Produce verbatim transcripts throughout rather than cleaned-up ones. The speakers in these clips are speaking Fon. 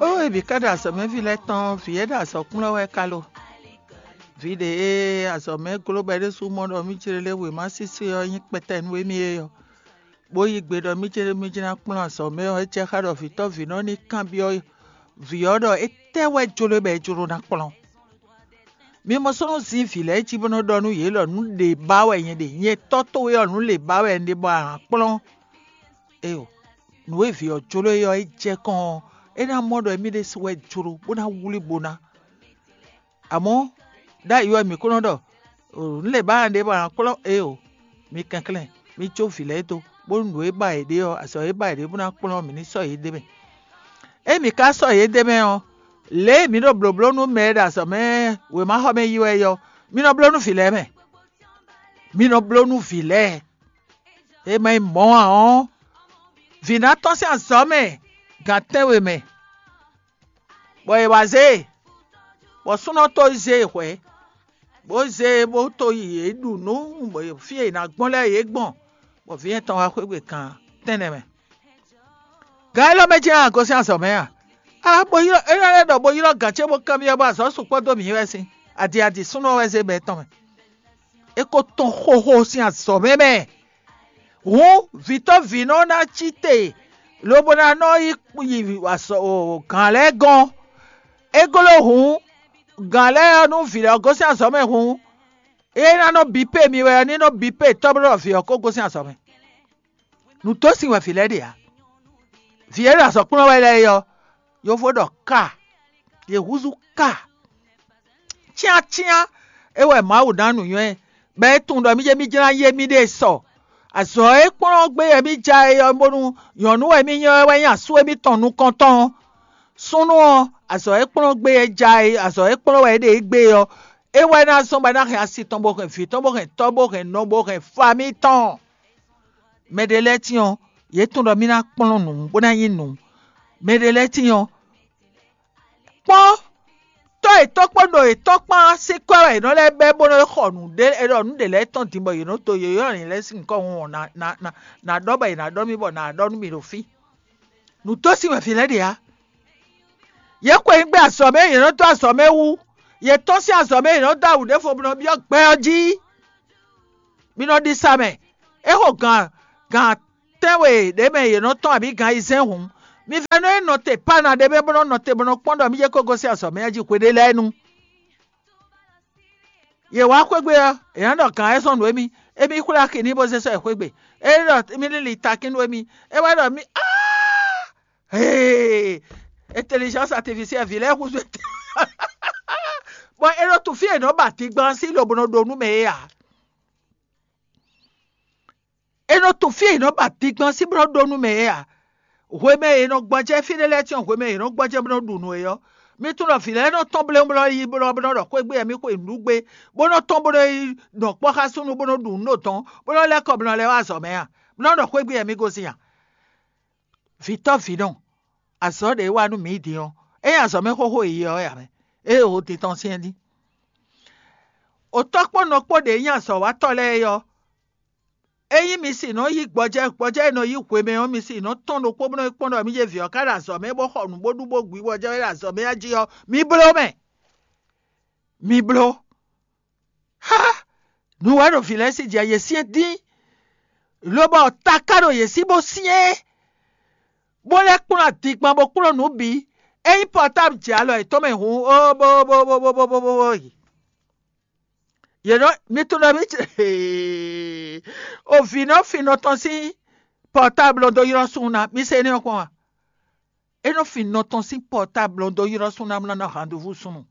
Ó, e bǐ ká ɖo azɔ̌mɛví lɛ́ɛ tɔn, vǐ e ɖo azɔ̌ kplɔ́n wɛ ka lo? Vǐ ɖě e azɔ̌ mɛ gló bɔ é ɖésú mɔ ɖɔ mí jlé lé wěma sísí ɔ́ nyí kpɛtɛ nú émí é ɔ́, bó yí gbe ɖɔ mí jlé mí jlá kplɔ́n azɔ̌ mɛ ɔ́, é jɛ xá ɖɔ vǐtɔ́ vǐnɔ ní kanbyɔ́ vǐ ɔ́ ɖɔ étɛ́ wɛ jló bɔ é jló ná kplɔ́n. Mi mɔ súnnu zín vǐ lɛ́ɛ jí bó nɔ́ ɖɔ nú yě ɖɔ nǔ ɖě ba wɛ nyɛ ɖe, nyɛ tɔ́ towe ɔ́, nǔ ɖě ba wɛ un ɖe bɔ a nǎ kplɔ́n. Éyo, nǔ e vǐ ɔ́ jló é ɔ́, é jɛ kɔn ɔ́, é ná mɔ ɖɔ émí ɖésú wɛ jló bó ná wlí bo ná. Amɔ̌, ɖ'ayǐ wɛ mǐ kó nɔ ɖɔ nǔ lě ba ɖě bɔ a nǎ kplɔ́n é o. Mi kɛnklɛ́n, mi jó vǐ lɛ́ɛ dó, bónú nǔ e ba yě ɖe ɔ́, azɔ̌ e ba yě ɖe bó ná kplɔ́n mǐ ní sɔ́ yě d'é mɛ. Ényí mǐ ka sɔ́ yě d'é mɛ ɔ́, lě e mǐ ɖo blǒbló nú mɛ e ɖo azɔ̌ mɛ wěmaxɔmɛ yi wɛ é ɔ́, mi nɔ bló nú vǐ lɛ́ɛ mɛ. Mi nɔ bló nú vǐ lɛ́ɛ. É ma nyí mɔ̌ ǎ ɔ́, vǐ ná tɔ́n sín azɔ̌ mɛ gan tɛ́nwe mɛ, bɔ è wǎ zé e, bɔ súnnu ɔ́ tó zé e hwɛ̌, bó zé e bó tó yi yě ɖu nǔ, bɔ fí e è nǎ gbɔn lɛ́ɛ yě gbɔn, bɔ vǐ nyɛ tɔn wá xwé gbe kan tɛ́nnɛ mɛ. Gan élɔ́ mɛ jɛ́n a gosín azɔ̌ mɛ a? A bo ylɔ́ é lɛ́ ɖɔ bo ylɔ́ gǎn ce bó kanbyɔ́ bɔ azɔ̌ sukpɔ́ dó mǐ wɛ sín. Adi adi súnnu ɔ́ wɛ zé bɛ́ tɔn mɛ. É ko tɔn xóxó sín azɔ̌ mɛ mɛ. Hǔn vǐtɔ́ vǐnɔ ná cí te, lobo ná nɔ yi yi gǎn lɛ́ɛ gɔ́n. É gló hǔn gǎn lɛ́ɛ ɔ́ nú vǐ lɛ́ɛ gosín azɔ̌ mɛ hǔn, é ná nɔ bǐ pé mi wɛ ɔ́, ní nɔ bǐ pé tɔ́ bó ɖɔ vǐ ɔ́ ko gosín azɔ̌ mɛ. Nǔ dó sin wɛ vǐ lɛ́ɛ ɖe ǎ. Vǐ e ɖo azɔ̌ kplɔ́n wɛ lɛ́ɛ é ɔ́, yovo ɖɔ ka, yě húzú ka. Cyáncyán é wɛ Mawu ná nǔnywɛ́, bɔ é tunwun ɖɔ mí jɛ mí jlá yé mí ɖée sɔ. Azɔ̌ e kplɔ́n gbé wɛ mí ja é ɔ́, bónú nyɔ̌nu wɛ mí nyɔ́ é wɛ nyí asú émítɔn nukɔntɔn ɔ́. Súnnu ɔ́, azɔ̌ e kplɔ́n gbé é ja é, azɔ̌ e kplɔ́n wɛ é ɖe é gbé ɔ́, é wɛ ná zɔ́n bɔ é ná hɛn asi tɔn bó hɛn vǐ tɔn bó hɛn tɔ́ bó hɛn nɔ bó hɛn famí tɔn. Mɛ ɖé lɛ́ɛ tíin ɔ́, yě tunwun ɖɔ mí ná kplɔ́n nǔ bó ná nyí nǔ. Mɛ ɖé lɛ́ɛ tíin ɔ́, kpɔ́n tɔ́ yětɔn kpó ɖo yětɔn kpán sín kwɛ́ wɛ yě nɔ lɛ́ bɛ́ bó nɔ́ xɔ nǔɖé, è ɖɔ nǔ ɖě lɛ́ɛ tɔn din bɔ yě nɔ dó yě ylɔ́ yě lɛ́ɛ sín nyǐkɔ hun ɔ́, nǎ ɖɔ bɔ è nǎ ɖɔ mì bɔ nǎ ɖɔ nú mì ɖo fí. Nǔ dó sin wɛ vǐ lɛ́ɛ ɖe ǎ. Yě xweyǐgbe azɔ̌ mɛ yě nɔ dó azɔ̌ mɛ wú; yě tɔ́n sín azɔ̌ mɛ yě nɔ dó awu ɖěvo bó nɔ byɔ́ gbɛ ɔ́ jí. Mi nɔ ɖi sa mɛ. É xo gǎn gǎn tɛ́nwe ɖě mɛ yě nɔ tɔ́n abǐ gǎn ayizɛ́n hǔn, mi vɛ́ nɔ e nɔ te Pana ɖé mɛ bó nɔ́ nɔ te bó nɔ́ kpɔ́n ɖɔ mí jɛ kó gosín azɔ̌ mɛ jí hweɖé lɛ́ɛ nu. Yě wá xwégbe ɔ́, è nǎ ɖɔ gǎn wɛ zɔ́n nǔ émí; émí xwlé axi n'i bó zé sɔ́ ɛ xwégbe. É ɖɔ mí lili takín nú émí; é wɛ ɖɔ mí áa hee intelligence artificielle vǐ lɛ́ɛ húzú étɛ́. Bɔ è nɔ tunwun fí e è nɔ ba dingban sín lobo nɔ ɖo nú mɛ é ǎ. È nɔ tunwun fí e è nɔ ba dingban sín bó nɔ ɖo nú mɛ é ǎ. Hwemɛ e è nɔ gbɔjɛ́ fí ɖé lɛ́ɛ tɔn, hwemɛ e è nɔ gbɔjɛ́ bó nɔ ɖu nǔ é ɔ́, mi tunwun ɖɔ vǐ lɛ́ɛ nɔ tɔ́n bléwún bó nɔ yi bó nɔ bó nɔ ɖɔ xwé gbe wɛ mí xwe nǔɖugbe, bó nɔ tɔ́n bó nɔ yi nɔ kpɔ́ xá súnnu bó nɔ ɖu nǔ ɖo dɔ̌n, bó nɔ lɛ́ kɔ bó nɔ lɛ́ wá azɔ̌ mɛ a? Bó nɔ ɖɔ xwé gbe wɛ mí gosín a? Vǐtɔ́ vǐnɔ, azɔ̌ ɖě wá nú mǐ din ɔ́, é nyí azɔ̌ mɛ xóxó e yi ɔ́ wɛ ǎ mɛ. Ée o din tɔn syɛ́n dín. Otɔ́ kpó nɔ kpó ɖě nyí azɔ̌watɔ́ lɛ́ɛ é ɔ́, ényí mi sì nɔ yí gbɔjɛ́, gbɔjɛ́ e nɔ yí hwemɛ ɔ́, mi sì nɔ tɔ́n ɖokpó bó nɔ yi kpɔ́n ɖɔ mí jɛ vǐ ɔ́ ká ɖo azɔ̌ mɛ bó xɔ nǔ bó ɖu bó gbi gbɔjɛ́ é ɖo azɔ̌ mɛ jí ɔ́, mi bló mɛ. Mi bló. Há! Nǔ wɛ ɖo vǐ lɛ́ɛ sí jɛ yě syɛ́n dín, lobɔ taká ɖo yě sí bó syɛ́n, bó lɛ́ kplɔ́n adingban bó kplɔ́n nǔ bǐ. Ényí pɔtábl jɛ alɔ yětɔn mɛ hǔn, ó bó bó bó bó bó bó bó bó yi. Yě nɔ mi tunwun ɖɔ mí o vǐ nɔ fin nɔ tɔn sín pɔtábl dó ylɔ́ súnnu ná, mi se énɛ́ ɔ́ kpɔ́n a? É nɔ fin nɔ tɔn sín pɔtábl dó ylɔ́ súnnu ná bó ná ná handuvú súnnu.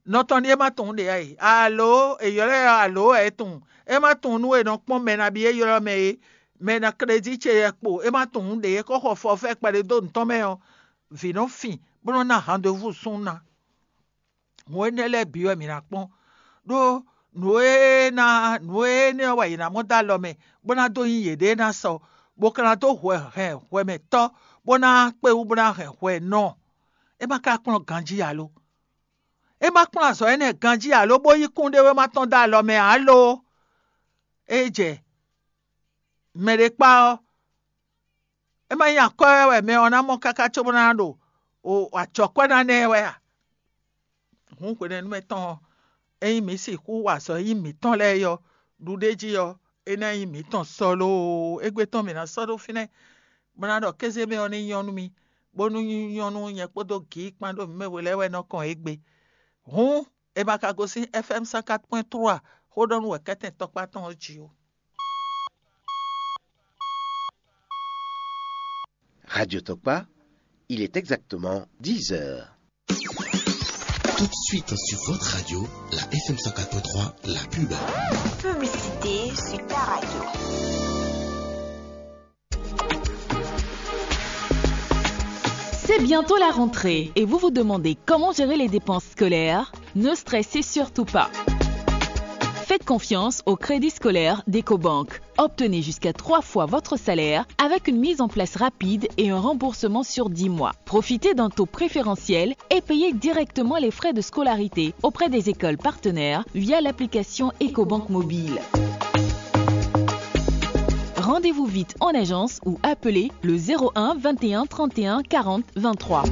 Nɔ tɔn ɖíe ma tunwun ɖě ǎ e. Alo è ylɔ́ ɛ alo wɛ é tunwun. É ma tunwun nú è nɔ kpɔ́n mɛ nabí é ylɔ́ mɛ é. Mɛ ná klédí ce yɛ kpo é ma tunwun ɖě é kó xɔ fɔfɛ́ kpɛɖé dó nǔ tɔn mɛ ɔ́, vǐ nɔ fin bó nɔ ná handuvú súnnu ná. Nǔ énɛ́ lɛ́ɛ bǐ wɛ mǐ ná kpɔ́n, ɖó nǔ e ná nǔ énɛ́ ɔ́ wɛ yě ná mɔ dó alɔ mɛ, bó ná dó nyí yěɖée ná sɔ, bó ka ná dó hwɛ hɛn hwɛmɛtɔ́, bó ná kpé wú bó ná hɛn hwɛ nɔ. É ma ka kplɔ́n ganjí ǎ lo? É ma kplɔ́n azɔ̌ énɛ́ ganjí ǎ lo, bó yí kúnɖéwéma tɔn dó alɔ mɛ ǎ lo? É jɛ mɛ ɖé kpá ɔ́, é ma nyí akwɛ́ wɛ mɛ ɔ́ ná mɔ káká cóbó ná ɖo o acɔkwɛ́ ná ná ɛ wɛ a? Hǔn hwenɛ́nu mɛ tɔn ɔ́, ényí mǐ sixú wa azɔ̌ e nyí mǐtɔn lɛ́ɛ é ɔ́, ɖuɖéjí ɔ́, é ná nyí mǐtɔn sɔ loo. Égbé tɔn mǐ ná sɔ́ ɖó fínɛ́, bó ná ɖɔ kéze mɛ ɔ́ ní nyɔ́ nú mì, bónú nyɔ́ nú nyɛ kpódó gǐ kpán ɖó mǐ mɛ we lɛ́ɛ wɛ nɔ kɔn égbé. Hǔn è ma ka gosín F M cent quatre point trois xó ɖɔ nú wɛ̌kɛ́tɛn tɔkpá tɔn ɔ́ jí ó. Radio Tokpa, il est exactement dix heures. Tout de suite sur votre radio, la F M cent quatre point trois, la pub. Publicité sur ta radio. C'est bientôt la rentrée et vous vous demandez comment gérer les dépenses scolaires ? Ne stressez surtout pas. Faites confiance au crédit scolaire d'Ecobank. Obtenez jusqu'à trois fois votre salaire avec une mise en place rapide et un remboursement sur dix mois. Profitez d'un taux préférentiel et payez directement les frais de scolarité auprès des écoles partenaires via l'application Ecobank Mobile. Rendez-vous vite en agence ou appelez le zéro un vingt et un trente et un quarante vingt-trois.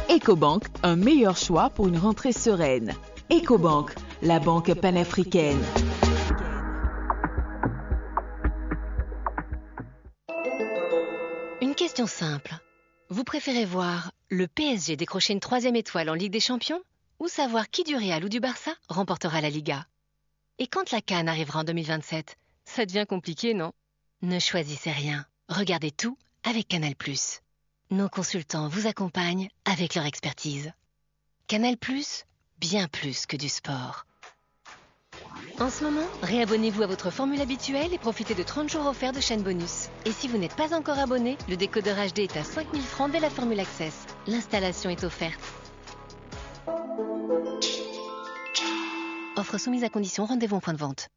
Ecobank, un meilleur choix pour une rentrée sereine. Ecobank, la banque panafricaine. Une question simple. Vous préférez voir le P S G décrocher une troisième étoile en Ligue des Champions ou savoir qui du Real ou du Barça remportera la Liga ? Et quand la CAN arrivera en deux mille vingt-sept, ça devient compliqué, non ? Ne choisissez rien. Regardez tout avec Canal+. Nos consultants vous accompagnent avec leur expertise. Canal+, bien plus que du sport. En ce moment, réabonnez-vous à votre formule habituelle et profitez de trente jours offerts de chaîne bonus. Et si vous n'êtes pas encore abonné, le décodeur H D est à cinq mille francs dès la formule Access. L'installation est offerte. Offre soumise à condition, rendez-vous en point de vente.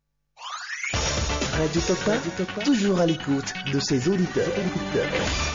Radio Tokpa, toujours à l'écoute de ses auditeurs.